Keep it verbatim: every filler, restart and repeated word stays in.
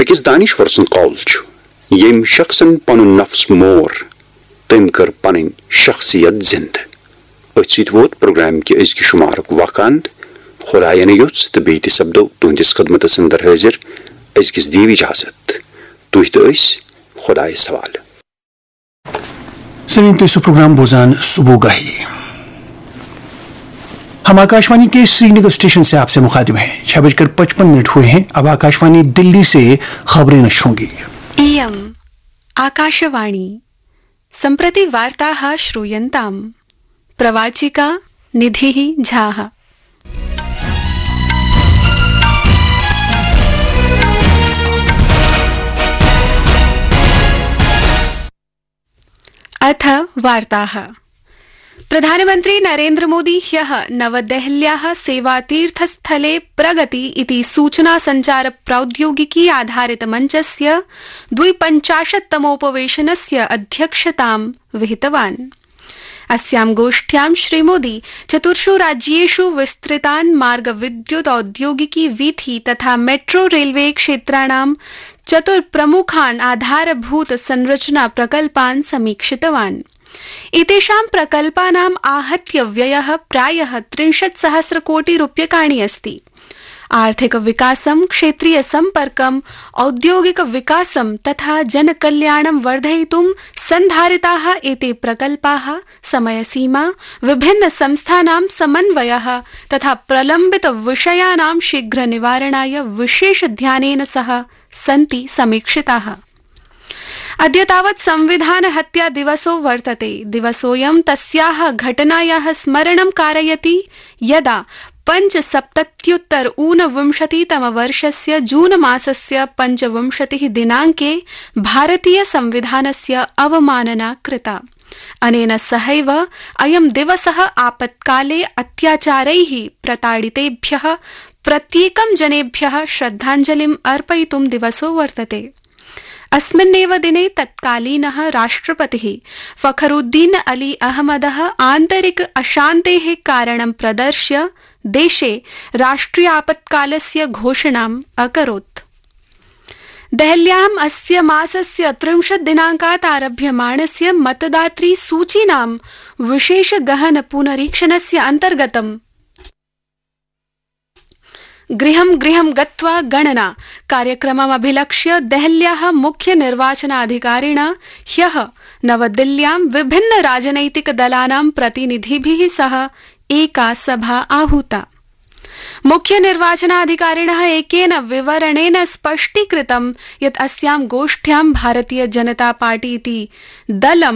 کِس دانشور سُنٛد قول چھُ، ییٚمۍ شخصن پنُن نفس مور، تٔمۍ کٔر پنٕنۍ شخصیت زندٕ۔ أتھۍ سۭتۍ ووت پروگرام کہِ أزکہِ شمارُک وقت اند۔ خدایَن یوٚژھ تہٕ بیٚیہِ تہِ سپدو تُہنٛدِس خدمتس اندر حٲضِر۔ أزکِس دِیِو اجازت۔ تُہۍ تہٕ أسۍ خدایس حوالہٕ۔ سامعین، تُہۍ چھِو پروگرام بوزان صبح گاہی۔ ہم آکاشوانی کے سرینگر اسٹیشن سے آپ سے مخاطب ہیں۔ چھ بج کر پچپن منٹ ہوئے ہیں۔ اب آکاشوانی دلی سے خبریں نشر ہوں گی۔ इयम् आकाशवाणी। सम्प्रति वार्ताः श्रूयन्ताम्। प्रवाचिका निधिः झाः। अथ वार्ताः। प्रधानमन्त्री नरेन्द्रमोदी ह्यः नवदेहल्याः सेवातीर्थस्थले प्रगति इति सूचना सञ्चार प्रौद्योगिकी आधारित मञ्चस्य द्विपञ्चाशत्तमोपवेशनस्य अध्यक्षतां विहितवान्। अस्यां गोष्ठ्यां श्रीमोदी चतुर्षु राज्येषु विस्तृतान् मार्ग, विद्युत, औद्योगिकी वीथी तथा मेट्रो रेलवे क्षेत्राणां चतुर्प्रमुखान् आधारभूत संरचना प्रकल्पान् समीक्षितवान्। एतेषां प्रकल्पानाम् आहत्य व्ययः प्रायः त्रिंशत् सहस्र कोटि रूप्यकाणि अस्ति। आर्थिक विकासं, क्षेत्रीय सम्पर्कं, औद्योगिक विकासं तथा जनकल्याणं वर्धयितुं सन्धारिताः एते प्रकल्पाः समयसीमा, विभिन्न संस्थानां समन्वयः तथा प्रलम्बित विषयाणां शीघ्र निवारणाय विशेष ध्यानेन सह सन्ति समीक्षिताः। अद्य तावत् संविधान हत्या दिवसो वर्तते। दिवसोऽयं तस्याः घटनायाः स्मरणं कारयति, यदा पञ्चसप्तत्युत्तर ऊनविंशतितमवर्षस्य जून मासस्य पञ्चविंशतिः दिनाङ्के भारतीय संविधानस्य अवमानना कृता। अनेन सहैव अयं दिवसः आपत्काले अत्याचारैः प्रताडितेभ्यः प्रत्येकं जनेभ्यः श्रद्धाञ्जलिम् अर्पयितुं दिवसो वर्तते। अस्मिन्नेव दिने तत्कालीनः राष्ट्रपतिः फखरुद्दीन अली अहमदः आन्तरिक अशान्तेः कारणं प्रदर्श्य देशे राष्ट्रियापत्कालस्य घोषणाम् अकरोत्। देहल्याम् अस्य मासस्य त्रिंशत् दिनाङ्कात् आरभ्यमाणस्य मतदातृ सूचीनां विशेष गहन पुनरीक्षणस्य अन्तर्गतं गृहं गृहं गत्वा गणना कार्यक्रममभिलक्ष्य देहल्याः मुख्य निर्वाचनाधिकारिणा ह्यः नवदिल्ल्यां विभिन्न राजनैतिक दलानां प्रतिनिधिभिः सह एका सभा आहूता। मुख्य निर्वाचनाधिकारिणः एकेन विवरणेन स्पष्टीकृतं यत् अस्यां गोष्ठ्यां भारतीय जनता पार्टी इति दलं